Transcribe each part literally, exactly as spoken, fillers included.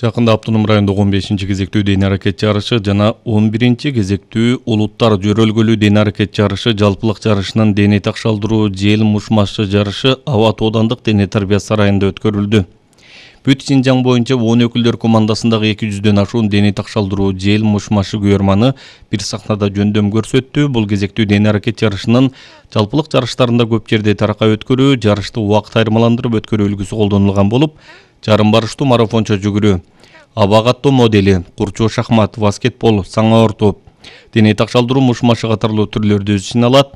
Жакында Автоном райондогу он бешинчи кезектүү дене аракет жарышы жана он биринчи кезектүү улуттар жөрөлгөлүү дене аракет жарышы жалпылык жарышынын дене такшалдыруу жел мушмашы жарышы Аба тоодандык дене тарбия сарайында өткөрүлдү. Бүт Синжаң боюнча он өкүлдөр командасындагы эки жүздөн ашуун дене такшалдыруу жел мушмашы күйөрманы бир сахнада жөндөм көрсөттү. Бул кезектүү дене аракет жарышынын жалпылык жарыштарында көп жерде таракай өткөрүү, жарышты убакыт айырмаландырып өткөрүү үлгүсү колдонулган болуп, жарым барыштуу марафончо жүгүрүү, аба каттоо модели, курчоо шахмат, баскетбол, саңа ортоп, дене такшалдыруу мушмашы катарлуу түрлөрдү өз ичине алат.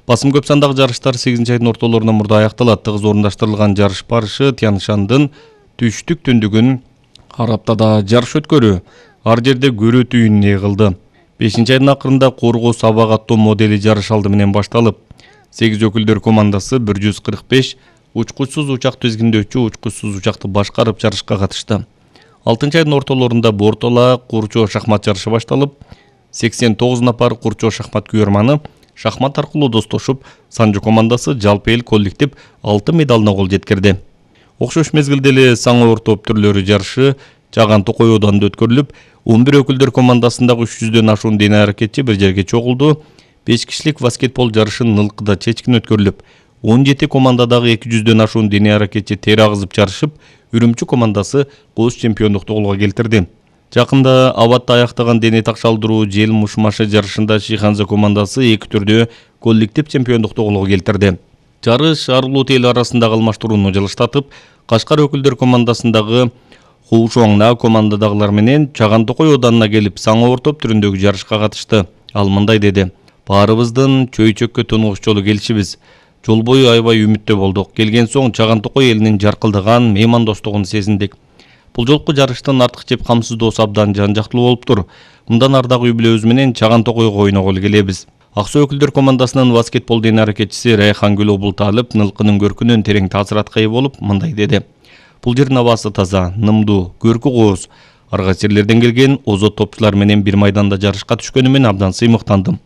Басым көп сандагы жарыштар сегизинчи айдын ортолорунан мурда аякталат. Тыгыз орундаштырылган жарыш барышы Тяншандын түштүк түндүгүн Араптада жарыш өткөрүү, ар жерде көрүү түйүнүн эгылды. бешинчи айдын акырында Коргоос аба каттоо модели жарыш алды менен башталып, сегиз өкүлдөр командасы бир жүз кырк беш учкучсуз учак тизгиндөөчү учкучсуз учакты башкарып жарышка катышты. алтынчы айдын ортолорунда Бортола курчоо шахмат жарышы башталып, сексен тогуз напар курчоо шахмат күйөрманы шахмат аркылуу достошуп, Санжы командасы жалпы эл коллектив алтын медалына кол жеткирди. Окшош мезгилде эле саңа ортоп түрлөрү жарышы Чаган Токой оодунда өткөрүлүп, он бир өкүлдөр командасындагы үч жүздөн ашуун дене аракетчи бир жерге чогулду. беш кишилик баскетбол жарышы Нылкыда чечкин өткөрүлүп, он жети командадагы эки жүздөн ашуун дене аракетчи тер агызып жарышып, Үрүмчү командасы кооз чемпиондукту колго келтирди. Жакында Абадта аяктаган дене такшалдыруу жел мушмашы жарышында Шиханза командасы эки түрдө коллектив чемпиондукту колго келтирди. Жарыш ар улут эл арасындагы алмаштырууну жылыштатып, Кашкар өкүлдөр командасындагы Хушоңна командадагылар менен Чаган Токой оодунуна келип, саңа ортоп түрүндөгү жарышка катышты. Ал мындай деди: "Баарыбыздын чөйчөккө тунугуш жолу келишибиз. Жол бою аябай үмүттө болдук. Келген соң Чаган Токой элинин жаркылдаган меймандостугун сезиндик. Бул жолку жарыштын артык жеп камсыздоосу абдан жан жактылуу болуптур. Мындан ар дагы үй бүлөбүз менен Чаган Токойго ойноголу келебиз." Ак суу өкүлдөр командасынын баскетбол дене аракетчиси Райхангүл Обулталып Нылкынын көркүнөн терең таасиратка ээ болуп, мындай деди: "Бул жердин абасы таза, нымдуу, көркү кооз. Арга жерлерден келген озот топчулар менен бир майданда жарышка түшкөнүмөн абдан сыймыктандым.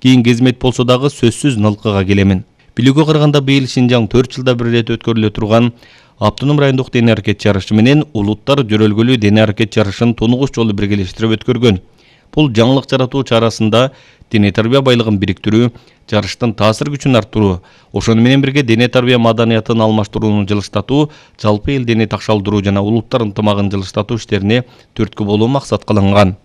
Кийин кезмет болсо дагы сөзсүз Нылкыга келемин." Билүүгө караганда быйыл Синжаң төрт жылда бир ирет өткөрүлө турган Автоном райондук дене аракет жарышы менен улуттар жөрөлгөлүү дене аракет жарышын тунугуш жолу биргелештирип өткөргөн. Бул жаңылык жаратуу чарасында дене тарбия байлыгын бириктирүү, жарыштын таасир күчүн арттыруу, ошону менен бирге дене тарбия маданиятын алмаштырууну жылыштатуу, жалпы эл дене такшалдыруу жана улуттар ынтымагын жылыштатуу иштерине түрткү болуу максат кылынган.